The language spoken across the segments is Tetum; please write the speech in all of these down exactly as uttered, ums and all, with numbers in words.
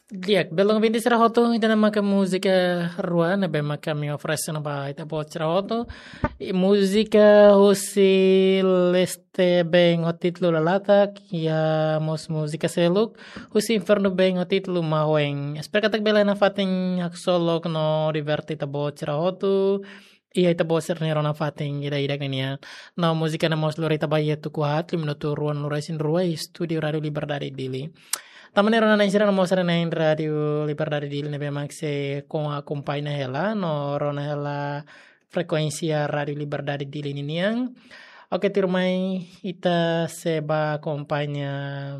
Di'ak, belun ouvinte sira hotu, ida-ne'e maka múzika rua ne'ebé maka ami oferese ona ba ita-boot sira hotu. I múzika husi Leste Band ho títulu Lalatak, iha mós múzika seluk husi Infernu Band ho títulu Mahuen. Espera katak bele nafatin haksolok no diverte ita-boot sira hotu iha ita-boot sira-nia rona fatin ida-idak nian. No múzika ne'e mós lori ita ba iha tuku haat, minutu ruanulu-resin-rua, estúdiu Rádiu Liberdade Dili. Tanba ne'e rona-na'in sira no mós sira-na'in Rádiu Liberdade Dili ne'ebé mak sei akompaña hela, no rona hela frekuénsia Rádiu Liberdade Dili ninian. Oke, tuirmai ita sei bá akompaña,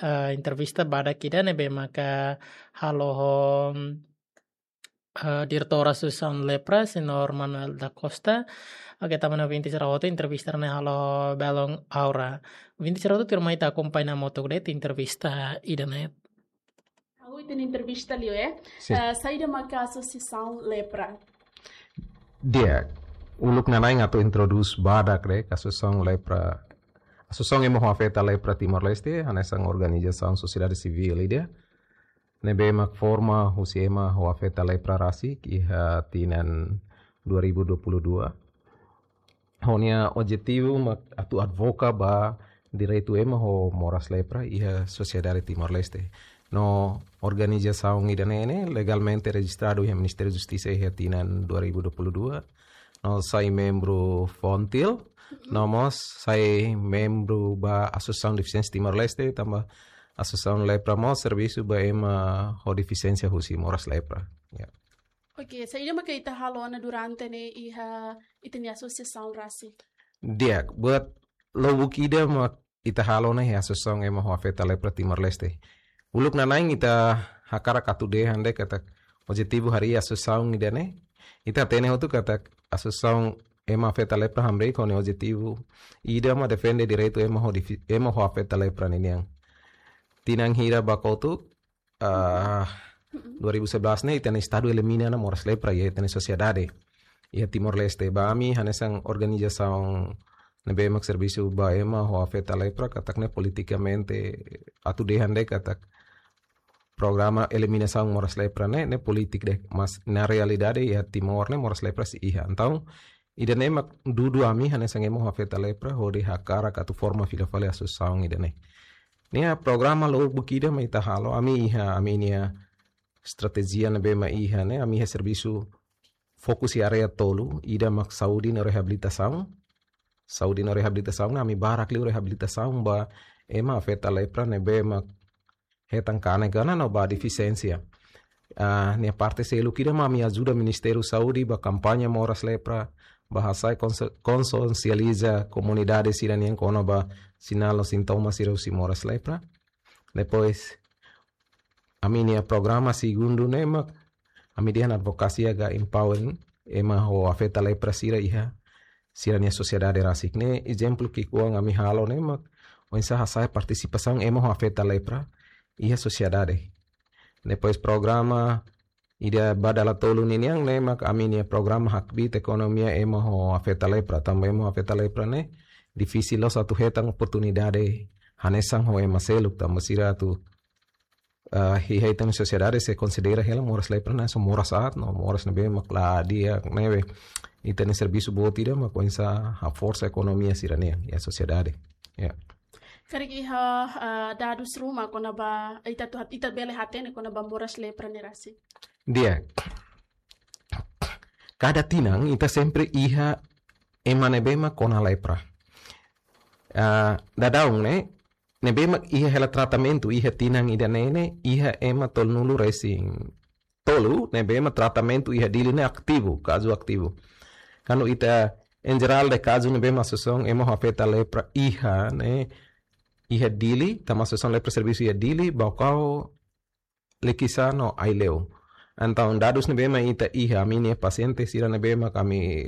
eh, entrevista badak ida ne'ebé maka halo ho eh, diretór Asosiasaun Lepra, Señór Manuel da Costa. Oke, tanba ne'e ouvinte sira hotu, entrevista ne'e halo belun Aura. Ouvinte sira hotu, tuirmai ita akompaña hamutuk de'it entrevista ida-ne'e. Ha'u ita-nia entrevista liu, eh. Sin. Eh, saida maka Asosiasaun Lepra? Di'ak, uluk nana'in atu introdús badak de'it Asosiasaun Lepra. Asosiasaun Ema ho Afeta Lepra Timor-Leste, hanesan organizasaun sosiedade sivíl ida ne'ebé mak forma husi ema ho afeta lepra rasik iha tinan dua ribu dua puluh dua. Ho nia objetivu mak atu advoka ba direitu ema ho moras lepra iha sosiedade Timor-Leste. No organizasaun ida-ne'e ne'e legalmente rejistradu iha Ministériu Justisa iha tinan dua ribu dua puluh dua. No sai membru Fontil, no mós sai membru ba Asosiasaun Defisiénsia Timor-Leste, tanba Asosiasaun Lepra mós servisu ba ema ho defisiénsia husi moras lepra. Ya. Oke, saida maka ita halo ona durante ne'e iha ita-nia asosiasaun rasik? Di'ak, buat lubuk ida mak ita halo ona iha Asosiasaun Ema ho Afeta Lepra Timor-Leste. Uluk nana'in ita hakarak atu dehan de'it katak objetivu harii asosiasaun ida-ne'e. Ita hatene hotu katak Asosiasaun Ema Afeta Lepra hamriik ho nia objetivu ida mak defende direitu ema ho difi-, ema ho afeta lepra ninian. Tinan hira ba kotuk, ah, dua ribu sebelas ne'e ita-nia Estadu elimina ona moras lepra iha ita-nia sosiedade. Iha Timor-Leste, ba ami hanesan organizasaun ne'ebé mak servisu ba ema ho afeta lepra, katak ne'e politikamente atu dehan de'it katak programa eliminasaun moras lepra ne'e, ne'e polítika de'it, mas na realidade iha Timor ne'e moras lepra sei iha. Entaun, ida-ne'e mak dudu ami hanesan ema ho afeta lepra hodi hakarak atu forma fila fali asosiasaun ida-ne'e. Nia programa lubuk ida mak ita halo, ami iha, ami-nia estratéjia ne'ebé mak iha ne'e, ami iha servisu fokus iha área tolu, ida mak saúde no reabilitasaun. Saúde no reabilitasaun, ami barak liu reabilitasaun ba ema afeta lepra ne'ebé mak hetan kanek ona no ba defisiénsia. Ah, nia parte seluk ida mak ami ajuda Ministériu Saúde ba kampaña moras lepra, ba hasai konse-, konsiensializa komunidade sira-nian kona-ba sinál no sintoma sira husi moras lepra. Depois, ami-nia programa segundu ne'e mak ami dehan advokasia ka empowering ema ho afeta lepra sira iha sira-nia sosiedade rasik. Ne'e ezemplu ki'ikoan ami halo ne'e mak oinsá hasa'e partisipasaun ema ho afeta lepra iha sosiedade. Depois programa ida ba dala tolu ninian ne'e mak ami-nia programa hakbiit ekonomia ema ho afeta lepra. Tanba ema ho afeta lepra ne'e difisil loos atu hetan oportunidade hanesan ho ema seluk, tanba sira atu, ah, iha ita-nia sosiedade sei konsidera hela moras lepra ne'e hanesan moras aat no moras ne'ebé mak la di'ak ne'ebé. Ita-nia servisu boot ida mak oinsá haforsa ekonomia sira-nian iha sosiedade. Ya. Karik iha, ah, dadus ruma kona-ba, ita atu hat-, ita bele hatene kona-ba moras lepra ne'e rasik? Di'ak. Kada tinan ita sempre iha ema ne'ebé mak kona lepra. Ah, daudaun ne'e, ne'ebé mak iha hela tratamentu iha tinan ida-ne'e ne'e, iha ema tolunulu-resin-tolu ne'ebé mak tratamentu iha Dili ne'e ativu, kazu ativu. Kuandu ita, em jerál de'it kazu ne'ebé mak asosiasaun ema ho afeta lepra iha ne'e, iha Dili, tanba asosiasaun lepra servisu iha Dili, Baucau, Likisá no Aileu. Entaun dadus ne'ebé mak ita iha, ami-nia pasiente sira ne'ebé mak ami